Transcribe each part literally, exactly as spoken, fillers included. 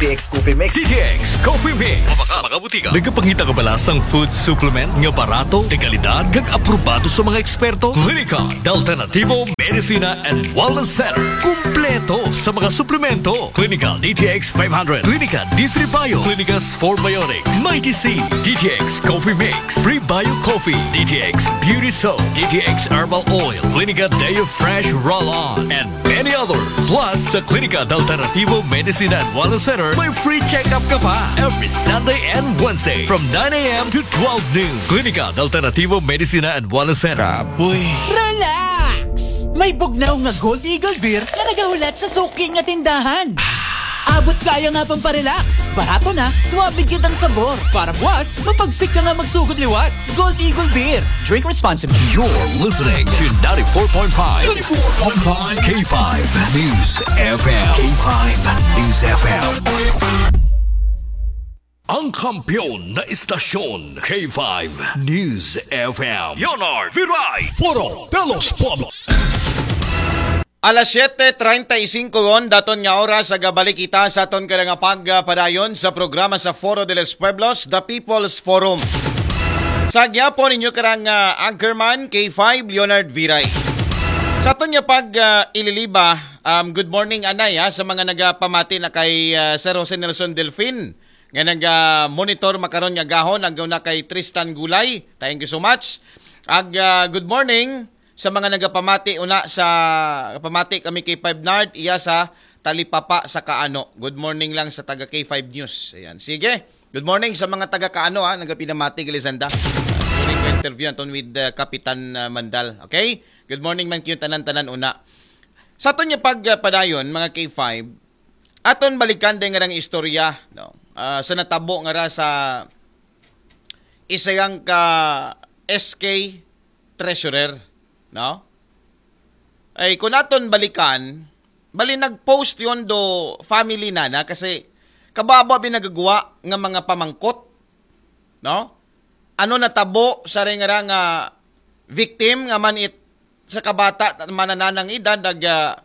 T X Coffee Mix. D T X Coffee Mix. Sa mga butika. Nagapangita ka ba sa food supplement nga barato, de kalidad, kag aprobado sa mga eksperto? Klinika de Alternativo Medicina and Wellness Center. Kumpleto sa mga suplemento. Klinika D T X five hundred, Klinika D three Bio, Klinika Spore Biotics, Mighty C, D T X Coffee Mix, Prebio Coffee, D T X Beauty Soap, D T X Herbal Oil, Klinika Deo Fresh Roll-On, and many others. Plus, sa Klinika de Alternativo Medicina and Wellness Center, may free check-up ka pa every Sunday and Wednesday from nine a.m. to twelve noon. Klinika de Alternativo Medicina and Wellness Center. Kapoy. Relax! May bugnaw nga Gold Eagle Beer nga nagahulat sa suki nga tindahan. Abot kaya nga pang parelax. Barato na, suabe gyud ang sabor. Para buwas, mapagsik ka nga magsugod liwat. Gold Eagle Beer. Drink responsibly. You're listening to ninety-four point five, ninety-four point five K five News F M. K five News F M. Ang kampiyon na istasyon, K five News F M. Leonard Viray. Foro de los Pueblos. Alas siyete treinta y cinco ron, daton nga oras, sa gabalik kita sa aton kada nga pagpadayon sa programa sa Foro de los Pueblos, The People's Forum. Sa gyapon ninyo karang ah, anchorman, K five, Leonard Viray. Sa aton nga pag ah, ililiba, um, good morning, anay, ha, sa mga nagapamati na kay ah, Sir Jose Nelson Delfin, nga nag-monitor makaron nga gahon, ang na kay Tristan Gulay. Thank you so much. Ag ah, good morning sa mga nagapamati una sa pamati kami kay Five Nard, iya sa Talipapa sa Kaano. Good morning lang sa taga K five News. Ayan. Sige. Good morning sa mga taga Kaano, ha, nagapinamati, Galisanda. During ko interview aton with uh, Kapitan uh, Mandal. Okay? Good morning man kayong tanan-tanan una. Sa aton nga pagpadayon, mga K five, aton balikan din nga istorya, no? Ah, sa natabo nga ra sa isang ka S K treasurer, no? Ay, kung aton balikan, bali nag-post yon do family na na kasi kababa binagagwa nga mga pamangkot, no? Ano natabo sa ring nga victim nga man it sa kabata man nanang edad nag ah,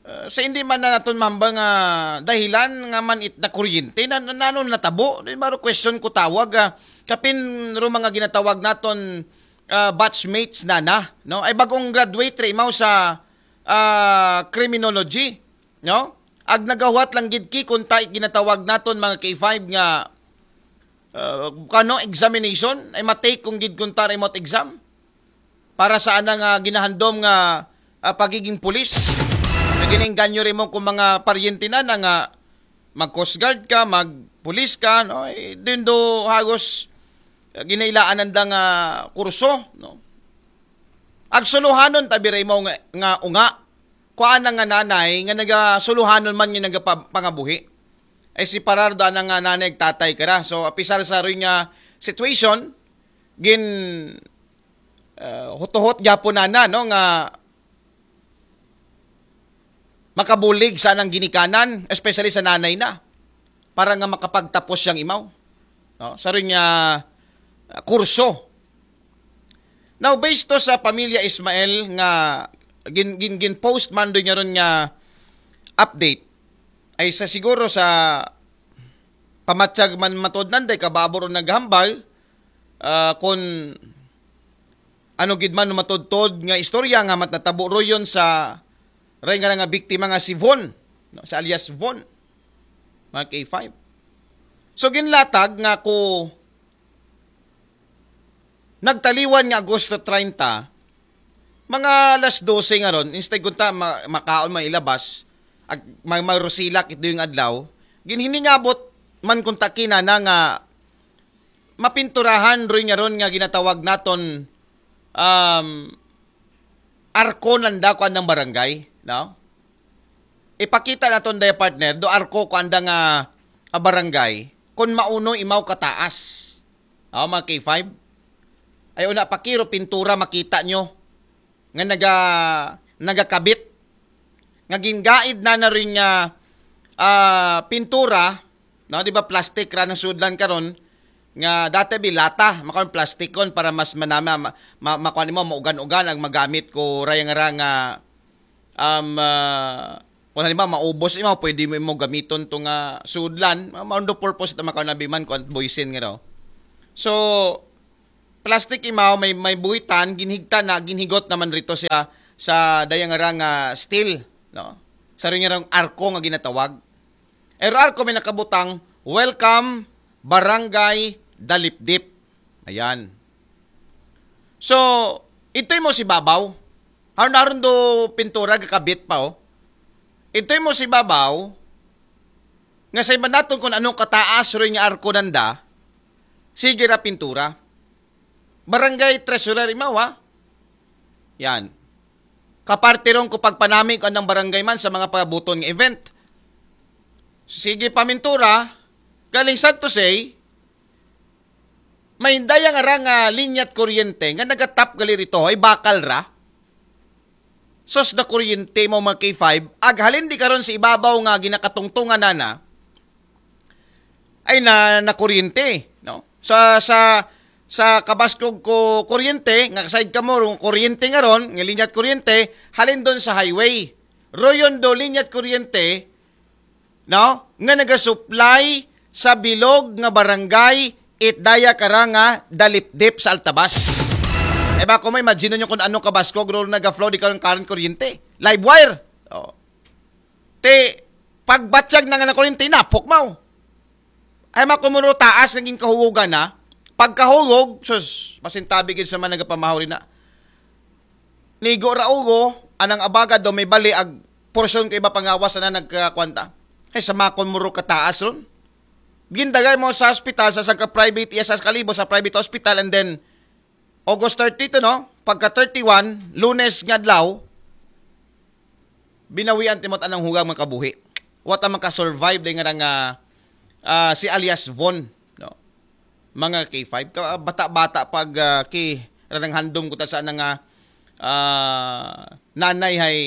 Uh, sa hindi man na naton mahambal nga dahilan nga man it na kuryente na, na, na ano natabo. Di ba, question ko tawag ah, kapin ro mga ginatawag naton ah, batchmates na na, no? Ay bagong graduate ra imaw sa ah, criminology, no? Ag nagahuwat lang gid ki kung ta ginatawag naton mga K five nga ah, kano examination ay matake kung gid kung ta remote exam para sa anang ah, ginahandom nga ah, pagiging pulis. Naginainganyo rin mo kung mga paryente na na nga mag Coast Guard ka, mag pulis ka, no? Eh, din do hagos ah, ginailaan nanda nga kurso, no? Agsuluhanon tabi rin mo nga, nga unga. Kuan nga nanay nga nagasuluhanon man nga nagapangabuhi. Ay si parar do anang nga nanay ag tatay kara. So apisar sa rin nga situation, gin ah, hutuhot gyapon nana, no, nga makabulig sa anang ginikanan, especially sa nanay na, para nga makapagtapos siyang imaw, no, sa rin nga ah, kurso. Now, based to sa pamilya Ismael nga gin, gin, gin post man doon niya ron nga update, ay sa siguro sa pamatsag man matod nanday kababor o naghambal, ah, kung ano gid man matodtod nga istorya nga mat natabo royon sa ray nga nga biktima nga si Von, no, sa alias Von, mga K five. So ginlatag nga ko nagtaliwan nga Agosto treinta, mga alas dose nga ron, instead kunta ma- makaon man ilabas, ag may marusilak ito yung adlaw, ginhiningabot man kunta kinana nga mapinturahan rin nga ron nga ginatawag naton um, arko nanda ko anang barangay, no? Ipakita naton daya partner, do arko ko anda nga ah, barangay, kung mauno imaw kataas. Oh, mga K five. Ay una pakiro pintura makita nyo nga naga nagakabit. Nga gingaid na na rin nga ah, pintura, no, di ba plastic ra nang sudlan karon nga dati bilata, makaon plastic kon para mas manama ma, ma, makuan mo maugan-ugan ang magamit ko rayang ra nga um, ah, Kung halimbawa, maubos imaw, pwede mo, mo gamiton to nga sudlan. Ma-, maundo purpose ito makaon na biman kung buisin nga daw. So, plastic imaw, may, may buhitan, ginhigta na, ginhigot naman rito siya sa dayang nga steel, no? Sa rin nga arko nga ginatawag. Ero arko may nakabutang, "Welcome, Barangay Dalipdip." Ayan. So, ito'y mo si babaw. Haron-haron do pintura, gakabit pa, oh. Ito'y mo si babaw, nga sa iba naton kung anong kataas rin nga arko nanda, sige ra pintura. Barangay Treasurer imaw, ha? Yan. Kaparte ron ko pagpanami ko anang barangay man sa mga pabuton nga event. Sige pamintura, galing sad to say, may daya nga ra nga linyat kuryente nga nagatap gali rito, ay bakal ra. Sos na kuryente mo mga K five, aghalin di karon sa ibabaw nga ginakatungtungan nana, ay na, na kuryente, no? Sa, sa, sa kabaskog ko kuryente, nga side ka mo, rong kuryente nga ron, nga linyat kuryente, halin doon sa highway. Royon do linyat kuryente, no? Nga nagasupply sa bilog nga barangay, it daya kara nga Dalipdip sa Altabas. E ba, kung may imagine nyo kung anong kabaskog, ro nag-flow di karon current kuryente. Live wire. Oh. Te, pagbatyag na nga ng kuryente, napok mo. Ay, makumuro taas nga ginkahugogan na. Pagkahugog, sus, pasintabi gid sa mga nagapamahuri na. Nigo ra ugo, anang abaga do may bali ag porsyon kay iba pangawas na nagkakwanta. Ay, sa makon muro kataas ron. Gindagay mo sa ospital, sa sangka private, iya sa kalibo sa private hospital, and then August thirty to, no? Pagka thirty-one, Lunes nga adlaw, binawian timot anang hugang makabuhi. Wa ta makasurvive day nga nga, ah, si alias Von, no? Mga K five, ka, bata-bata pag, ah, ki ranang handom ko ta sa nga, ah, nanay hay,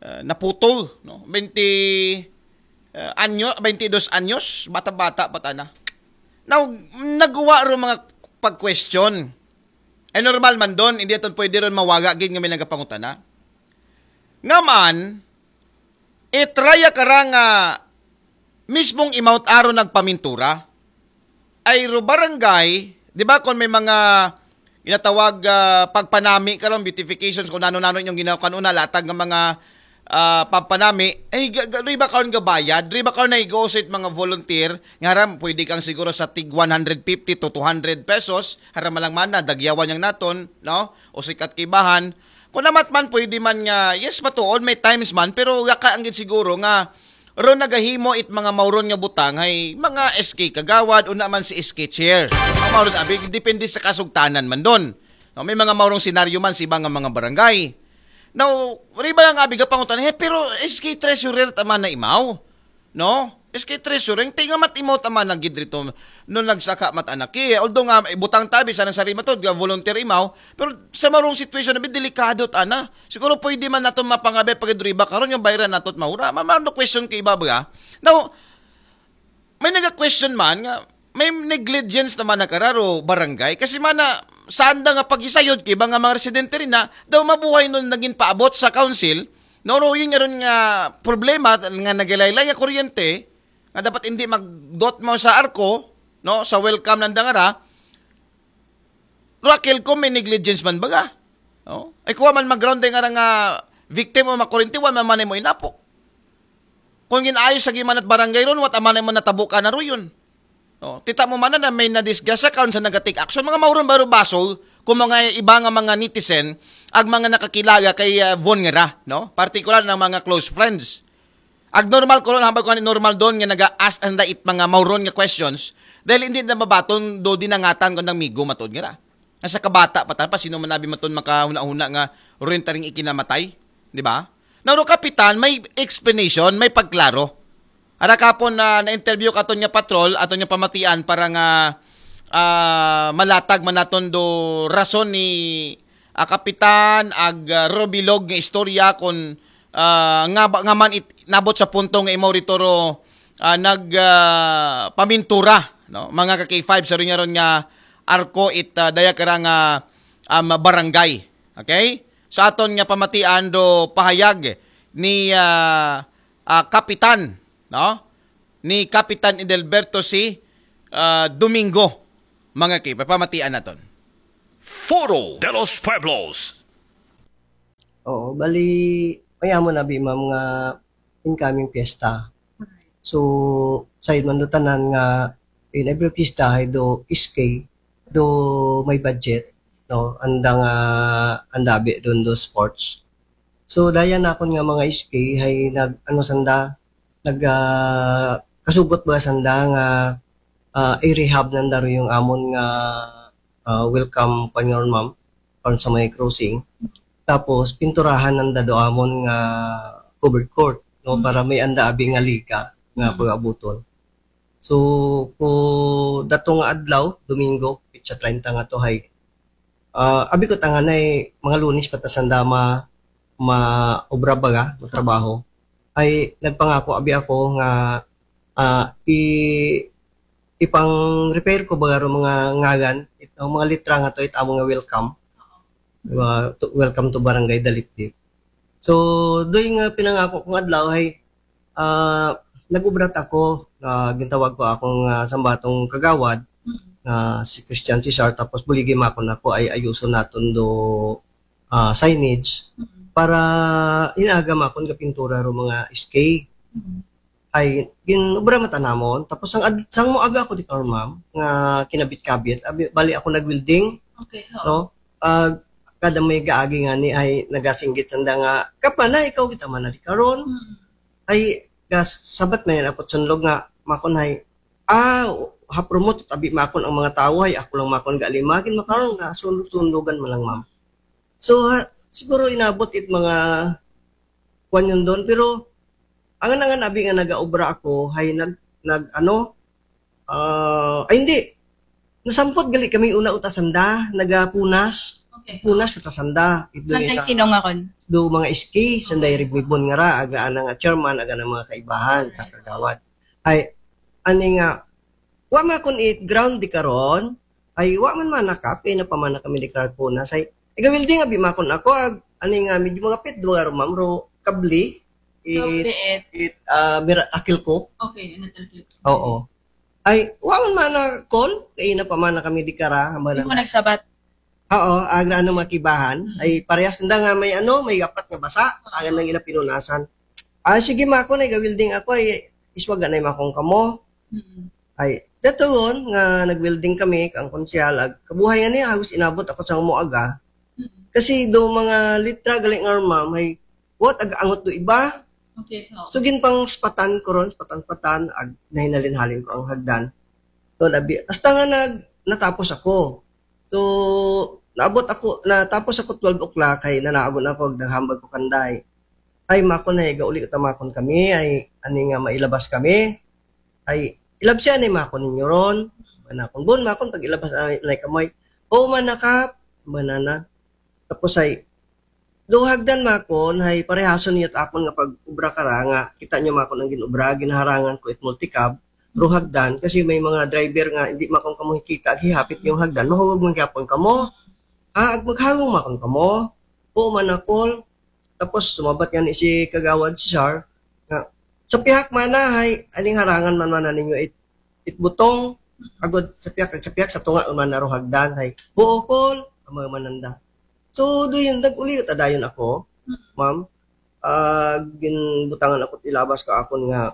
ah, naputol, no? Twenty, ah, anyo, twenty dos anyos, bata-bata pa tana. Now, naguwa ro mga pag-question. Ay normal man doon, hindi aton pwede ron mawaga gid nga may nagapangutana. Nga man, itraya kara nga mismong imount aron nagpamintura. Ay ro barangay, di ba, kung may mga ginatawag, ah, pagpanami karon, beautifications, kung nano-nano inyong ginawa kanuna, latag nga mga, ah, pagpanami, ay ga- ga- riba karon gabayad, riba karon na igosit mga volunteer, nga ram, pwede kang siguro sa tig one hundred fifty to two hundred pesos, haram lang man na, dagyawan yang naton, no? O sikat kibahan, kung namat man, pwede man nga, yes, matuod, may times man, pero gaka ang gid siguro nga, ro nagahimo it mga mauron nga butang, hay mga S K kagawad, una man si S K chair. Ang mauron abi, depende sa kasugtanan man doon. No, may mga maurong senaryo man sa iba nga mga barangay. Now, riba nga abi gapangutan, eh, pero S K treasurer tama na imaw. No? S K treasurer, tingnan mat imaw tama na gid rito. No nagsaka mat anak. Eh, although nga, eh, butang tabi sa nang sarima to, nga volunteer imaw, pero sa marong situation na delikado ta na. Siguro pwede man nato mapangabe pag riba karon yung bayran nato at maura. Mamano question kay iba ba? Now, may naga-question man nga may negligence naman na kararo barangay kasi mana sanda nga pagisayod kay iba nga mga residente rin na daw mabuhay nun naging paabot sa council. No, no, yun nga ron nga problema nga nagalaylay nga kuryente nga dapat hindi magdot mo sa arko, no, sa welcome ng dangara. Raquel ko may negligence man baga. No? Ay kuha man mag-ground nga nga victim o makurinti, wa man man mo inapo. Kung ginaayos sa gimanat barangay ron, wat aman mo natabo ka na ruyon. No? Tita mo man na may nadisgrasya karon sa nagatik action. Mga mauron baro basol, kung mga iba nga mga netizen, ang mga nakakilaga kay uh, Von Ngera, no? Partikular ng mga close friends. Ag normal ko ron, habang ko normal doon nga naga-ask ang dait mga mauron nga questions, dahil hindi na mabaton do dinangatan ko ng migo matod nga ra. Nasa kabata pa ta pa, sino man abi maton makahuna-huna nga rin taring ikinamatay, di ba? Nauro kapitan, may explanation, may pagklaro. Ara kapon na na-interview katon nga patrol, aton nga pamatian para nga ah, malatag man naton do rason ni ah, Kapitan ag ah, Robilog nga istorya kon ah, nga ba- nga man it, nabot sa punto nga imaw rito ro ah, nag ah, pamintura, no, mga ka K five sa rin nga ron nga arko it ah, daya kara nga um, barangay. Okay? Sa aton nga pamatian do pahayag ni ah, ah, kapitan, no? Ni Kapitan Edelberto C. ah, Domingo, mga ki, papamatian naton. Foro de los Pueblos. Oo, bali, mayamon abi, ma'am, nga incoming fiesta. So, sayod man do tanan nga in every fiesta hay do S K, do may budget, no? Anda nga, anda abi don do sports. So, daya nakon nga mga S K hay nag, ano sanda, nag, ah, kasugot ba sanda nga, ah, i-rehab nanda ro yung amon nga, ah, welcome, kwan nga ron, ma'am, kwan sa may crossing. Tapos, pinturahan nanda do amon nga covered court, no, para may anda abi nga liga nga pag-abuton. So, ko dato nga adlaw, Domingo, pitsa treinta nga to hay, ah, abi ko tanganay, mga Lunes pa ta sanda ma, maobra baga, matrabaho. Ay, nagpangako abi ako nga, ah, i, ipang-repair ko baga ro mga ngaran, it, ang mga litra nga to, it amo nga welcome. Wa-, to, welcome to Barangay Dalipdip. So, doy nga pinangako kong adlaw hay, ah, nag-ubra ta ko, ah, gintawag ko akong, ah, sambatong kagawad, ah, si Christian Cesar, tapos buligi makon ako ay ayuson naton do, ah, signage para inaga makon ga pintura ro mga S K. Ay, gin-ubra mata namon. Tapos sang ad-, sang moaga ako di karon, ma'am, nga kinabit-kabit, abi, bali ako nag-welding, Okay, ho. No? Ah, kada may gaagi nga ni ay nagasinggit sanda nga, "Kap man na, ikaw kita man na di karon." Mm. Ay, gas, sabat man yan ako sunlog nga, makon hay, ah, hapromot, tabi makon ang mga tawo, ay ako lang makon ga lima, gin makaron na, sunlog-sunlogan man lang, ma'am. So, ha, siguro inabot it mga kwan yun doon, pero angan-angan abi nga nagaobra ako, hay nag, nag, ano, ah, ay hindi, nasampot gali kami una uta sanda, nagapunas, Okay. punas uta sanda. Ito Saan yung tayo sinong akon? Do mga S K, sanday ribibon nga ra, aga ana nga chairman, aga na mga kaibahan, kagawad. Ay, ani nga, wa makon it ground di karon, ay wa man manakap, eh, napamana kami di karon punas, ay, iga welding abi makon ako, ag, ani nga, medyo mga pit, duwa ro, ma'am, ro, kabli, it, Kabli, eh. it, ah, mira, akil ko. Okay, ano talaga? Oo. Ay, wa man mana call, kay napamana kami di kara, hamba Hindi na. mo nagsabat. Oo, agra ano makibahan. Mm. Ay, parehas nda nga may ano, may gapat nga basa. Agan nang ila pinunasan. Ah, sige, makon, ay, ga-welding ako, ay, iswaga na makon kamo. Mm. Ay, datugon nga nag-welding kami, kang konsehal, ag, kabuhay nga niya, halos inabot ako sa moaga. Mm. Kasi do mga litra, galing nga, ma'am, ay, what, ag-angot do iba? Okay, ho. So, ginpang spatan ko ron, spatan-spatan, ag, nahinalin-halin ko ang hagdan. So, nabi, hasta nga nag, natapos ako. So, naabot ako, natapos ako twelve o'clock, ay nanaagon ako, naghambag ko kanday. Ay, makon, ay, gauli ta makon kami, ay, ani nga mailabas kami. Ay, ilabsya ni makon ninyo ron. Manakon, bon, makon, pag ilabas, ay, like, amoy, oo, manakap, banana. Tapos, ay, do hagdan makon, ay, parehason niyo akon nga pag-ubra kara, nga, kita niyo makon ang ginubra, ginaharangan ko it multicab, ro hagdan, kasi may mga driver nga, hindi makon kamo hikita, hihapit yung hagdan, mahulog man gyapon kamo. Ah, ag maghawong makon kamo. Oo, manakol. Tapos, sumabat nga ni si Kagawad Cesar, nga, sa pihak mana, hay, aning harangan man mana ninyo it, it butong, agod sa pihak, sa pihak, sa tunga, man na ro hagdan, hay, buokol, ang mga mananda. So, do yun, nag-uli, tadayon ako, ma'am. Ah, ginbutangan ako, ilabas ko akon nga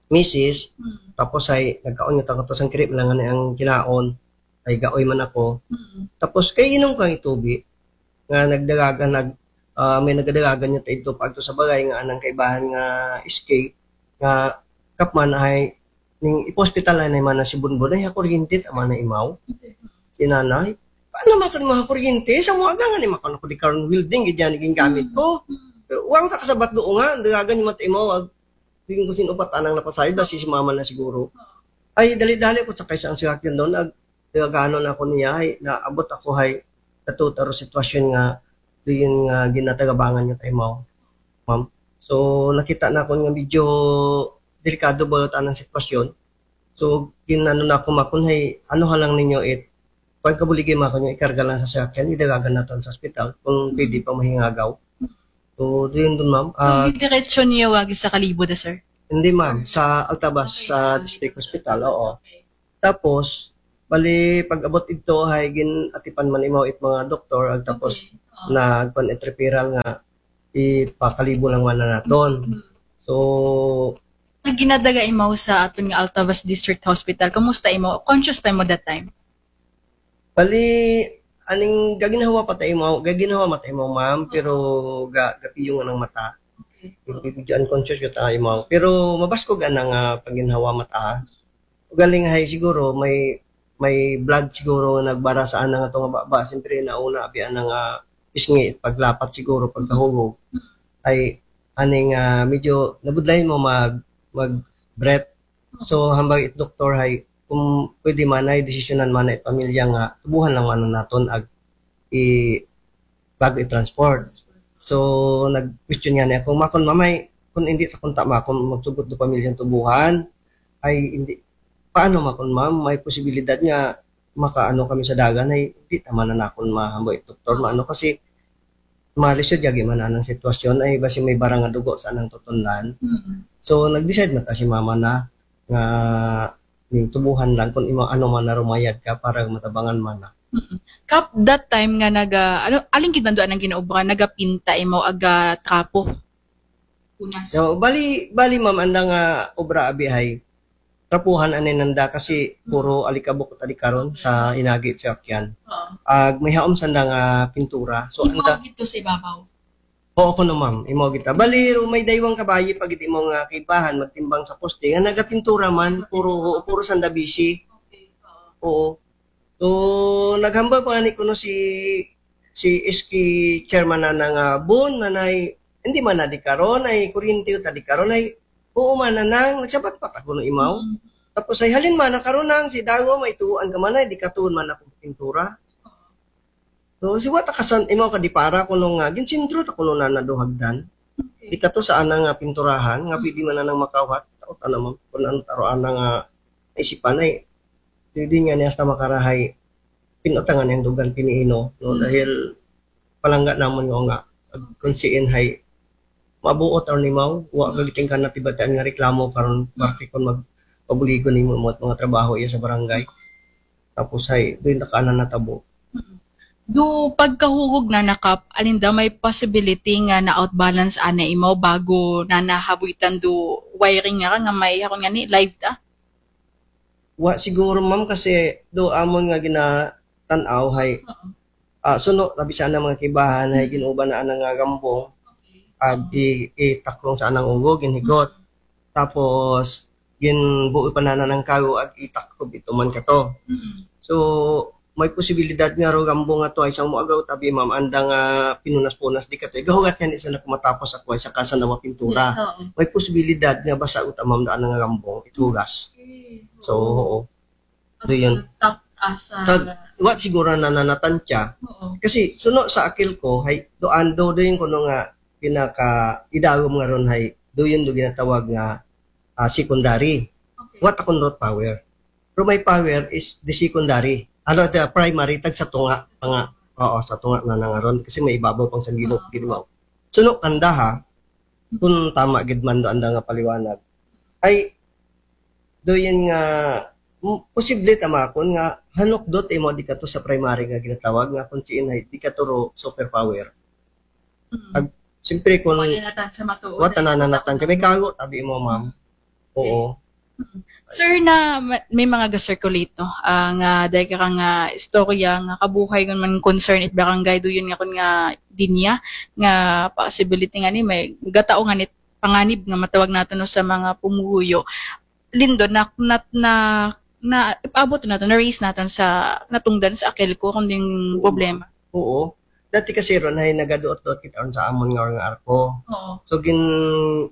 misis, Mm. tapos ay, nagkaon yung tangatos ang kirip lang nga ang kinaon, ay gaoy man ako. Mm. Tapos, kay inom kang itubi, nga nagdagagan, nag, ah, may nagdagagan yung ito pag to sa bagay, nga anang kaibahan nga escape, nga kapman ay, ning ipospital ay naman na si Bunbun, ay, kuryente, tama na imaw. Si nanay, paano makon mga kuryente? Sa mga gangan, eh, makon ako di karon welding, gid yan, naging gamit ko. Pero, wala ka kasabat doon nga, dagagan yung mata imaw, ag, di ko sin upat anang napasayod, basi si mama na siguro. Ay, dali-dali ko sakay sa ang sasakyan doon, ag, dagaganon ako niya, ay, naabot ako, ay, natutaro sitwasyon nga, doon nga, ginatagabangan niya tayo, ma'am. Ma'am. So, nakita na ako nga medyo delikado ba ang sitwasyon. So, ginano na ako, makon, ay, ano ha lang ninyo, it, pag kabuligay, makon, yung ikarga lang sa sasakyan, idagagan natin sa ospital, kung pwede pa mahingagaw. So, doon doon, ma'am. So, ah, diretso niyo wagi sa Kalibo da, sir? Hindi, ma'am. Sa Altavas, okay, sa district hospital, oo. Okay. Tapos, bali, pag-abot ito, hay gin-atipan man imaw it mga doktor, ag tapos okay, oh, nagkuan it referral nga ipakalibo lang man naton. Hmm. So, nagginadaga imaw sa aton nga Altavas District Hospital. Kumusta imaw? Conscious pa imaw that time? Bali, aning gaginhawa pa ta imaw, gaginhawa man ta imaw, ma'am, pero ga, gapiyong anang mata. Okay. Medyo unconscious gyud ta imaw. Pero mabaskog anang, ah, pagginhawa mata. Ugaling hay siguro may, may blood siguro nga nagbara sa anang ato nga baba. Siyempre, nauna abi anang, ah, pisngi, paglapat siguro, pagkahulog. Ay, aning, ah, medyo nabudlay mo mag, mag breath. So, hambal it doktor hay, kung pwede man ay desisyonan man ay pamilya nga tubuhan lang man naton ag i, bago i-transport. So, nag-question nga niya kung makon mamay, kung hindi ta kunta makon magsugot do pamilyang tubuhan, ay hindi, paano makon, ma'am? May posibilidad nga makaano kami sa dagan, ay hindi naman na nakon mahambal it doktor, maano kasi malisod yagi man anang sitwasyon, ay basi may barang nga dugo sa anang tutunlan. Mm. So, nag-decide man ta si mama na nga ning tubuhan lang kung imo ano man na rumayad ka para matabangan man na. Mm. Kap, that time nga naga, ano, alin gid man do anang ginaubra, nagapinta imo aga trapo? Punas. So, bali, bali, ma'am, anda nga obra abi hay trapuhan ani nanda kasi puro alikabok ta di karon sa inagi sa akyan. Oo. Ag may haom sanda nga pintura. So, anda ito sa ibabaw. Oo, kuno, ma'am. Imo kita. Bali, ro may daywang kabayi pag imo nga kibahan magtimbang sa poste nga nagapintura man, puro, oo, puro sanda bisi. Okay. Oo. So, naghambal pa ni kuno si, si S K chairman na nga bon na nay, hindi man na di karon ay kuryente ta di karon ay, oo man na nang nagsabat pa ta kuno imaw. Mm. Tapos ay halin man na karon nang si Dago may tuan ka man ay di katuon man ako pintura. So, si wata kasan imaw ka di para kuno nga ginsentro ta kuno na naduhagdan. Okay. Di kato sa anang nga pinturahan nga pwede man na nang makawhat. Taot ana mo kun ano taro ana nga isipan ay pwede nga niya hasta makarahay pinutangan yang dugan piniino, no? Mm. Dahil palangga namon nga nga kung siin hay mabuot aron imaw, wa ka giting ka natibataan nga reklamo karon parte kon magpabuligon nimo mo mga trabaho iya sa barangay. Tapos hay doon na ka na natabo. Do pagkahurog na nakap, alinda may possibility nga na-outbalance ana imaw bago na nahabuitan do wiring nga nga may hakon nga ni live ta? Wa siguro, ma'am, kasi do amon nga ginatan-aw hay, ah, suno tabi sa anang mga kibahan hay ginuban na anang nga gambong ag i, itaklong sa anang ulo, ginhigot. Tapos ginbuo pa na anang kago ag itaklob ito man kato. So, may posibilidad nga ro gambong nga to ay isang muagaw tabi, ma'am, anda nga pinunas-punas di kato. Igahugat nga ni sa nagmatapos ako ay sa kasa na pintura. Yes, oo. May posibilidad nga basa uta, ma'am, daan nga gambong itugas. Okay. So, oo. Do yun. Tap asa. Tag, what siguro na nanatan siya. Oo. Kasi suno sa akil ko, hay, doon do, do yun kuno nga pinaka idagom nga ron hay, do yun do ginatawag nga, ah, secondary. Okay. What akong root power? Pero may power is the secondary. Ano, the primary, tag sa tunga, tunga. Oo, sa tunga na nangaron. Kasi may ibabaw pang sangilot, gid mo. Suno kanda ha, kung tama gid man do anda nga paliwanag. Ay, do yun nga, m-, posible tama akon nga hanukdot imo di kato sa primary nga ginatawag nga kung siin hay di kato ro superpower. Mm. Ag, siyempre, kung wala na tan sa matuod, wata na nanatan ka, may kago tabi mo, ma'am. Oo. Mm. Sir, na ma-, may mga ga-circulate, no? Ah, nga dahil ka nga istorya nga kabuhay kun man concern it barangay do yun nga kun nga dinya nga possibility nga ni may gatao nga nit panganib nga matawag nato, no, sa mga pumuyo. Lindo na na na, na ipaabot nato, na-raise naton sa natungdan sa akil ko kung ding problema. Oo. Dati kasi ron ay nagaduot-duot kita ron sa amon nga, nga arko. Oo. So gin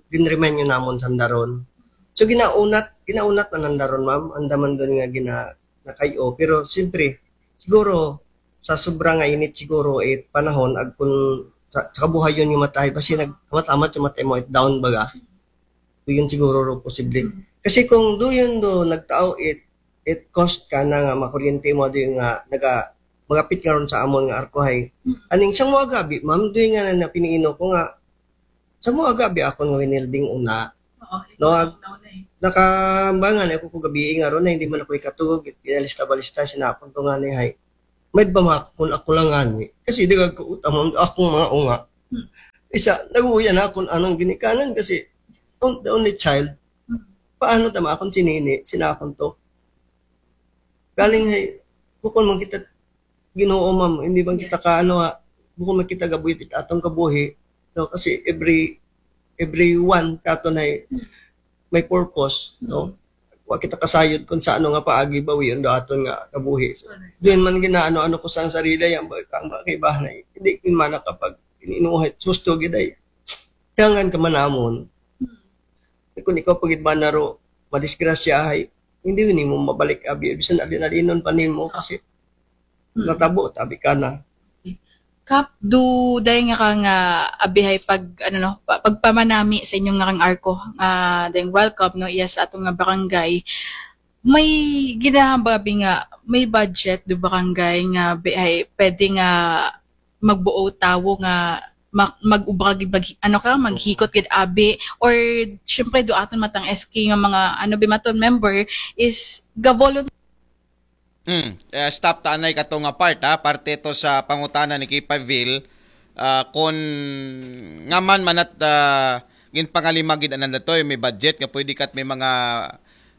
ginremind yun namon sanda ron. So ginaunat, ginaunat man nanda ron, ma'am. Andaman doon nga gina nakayo. Pero siyempre, siguro sa sobra nga init siguro it panahon ag kun sa, sa kabuhayon yung matahay basi nag amat-amat yung matay mo it down baga. So, yun siguro ro posible. Kasi kung do yun do nagtao it it cost ka na nga makuryente mo do yung nga naga magapit nga ron sa amon nga arkohay. Aning siyang mga gabi, ma'am, do yung nga na, na piniino ko nga Sa mga gabi ako nga winilding una, Oo, No, ikaw ag- daw na eh. Nakambangan ako ko gabi nga ron na hindi man ako ikatulog, pinalista-balista, sinakon ko nga ni hay. May ba makakon ako lang ani? Kasi di ko utamon akong mga unga. Isa, naguya na akong anang ginikanan kasi on- the only child. Paano tama akong sinini, sinakon to? Galing hay, bukon man kita Ginoo, ma'am, hindi bang kita ka ano ha, bukon man kita gabuhi it atong kabuhi. No, kasi every every one katon ay may purpose, no? Wa kita kasayod kung sa ano nga paagi bawion do aton nga kabuhi. So, din man ginaano-ano ko sa sarili, yan ba, kang mga kaibahan ay, hindi ko man nakapag ininuhay, susto gid ay. Kaya nga ka manamon, kung ikaw pagid ba naro, madisgrasya ay, hindi nimo mabalik abi, bisan alin-alinon pa nimo kasi natabo, tabi ka na. Kap, do day nga ka nga abihay pag, ano no, pa- pagpamanami sa inyong nga kang arko, nga dayng welcome, no, iya sa atong nga barangay. May ginahambag abi nga, may budget do barangay nga bihay, pwede nga magbuo tawo nga mag, mag-ubra gid, mag, ano ka, maghikot gid abi, or syempre do aton matang S K nga mga, ano, bimaton member is ga-volunteer. Mm. Eh, stop ta anay kato nga part ha, parte to sa pangutana ni Kipaville. Ah, kon nga man manat ah, ginpangalima gid anan datoy, may budget nga pwede kat may mga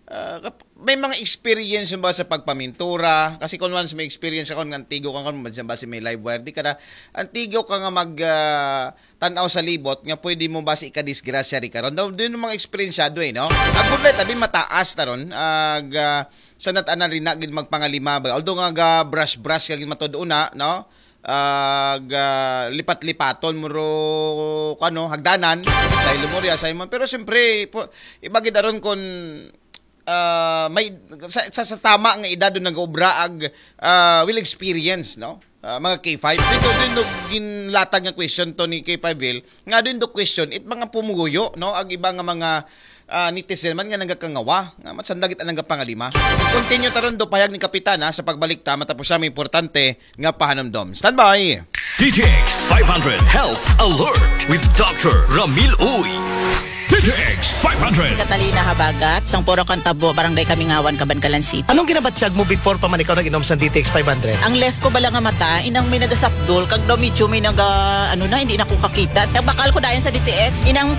ah, kap- may mga experience ba sa pagpamintura, kasi kung once may experience ako nga antigo ka, kung ba si may live wire di ka na antigo ka nga mag ah, tanaw sa libot nga pwede mo ba si ikadisgrasya di karon daw din mga eksperensyado eh, no? Ang good light abi mataas na ron ag ah, sa nat-anan rin na gid magpangalima ba, although nga ga brush brush ka gid matod una, no? Ag ah, lipat-lipaton mo ro kano hagdanan dahil mo ri assignment, pero siyempre po, iba gid aron kon ah, may sa, sa, sa tama nga edad do nag-obra ag ah, will experience, no? Ah, mga K five. Dito din do ginlatag nga question to ni K five Bill. Nga din do question it mga pumuguyo, no? Ag iba nga mga ah, netizen man nga nagakangawa nga matsandagit ang nagapangalima. Continue taron do payag ni Kapitana sa pagbalik ta matapos siya may importante nga pahanumdom. Standby! D T X five hundred Health Alert with Doctor Ramil Uy. D T X five hundred. Catalina Habagat, Sangpuro Kantabo, Barangay Kamingawan, Kabankalan City. Anong ginabatyag mo before pa man ikaw nag-inom sa D T X five hundred? Ang left ko bala nga mata, inang may nagasapdol, kag daw medyo may naga, ano na, hindi na ko kakita. Nagbakal ko dayon sa D T X, inang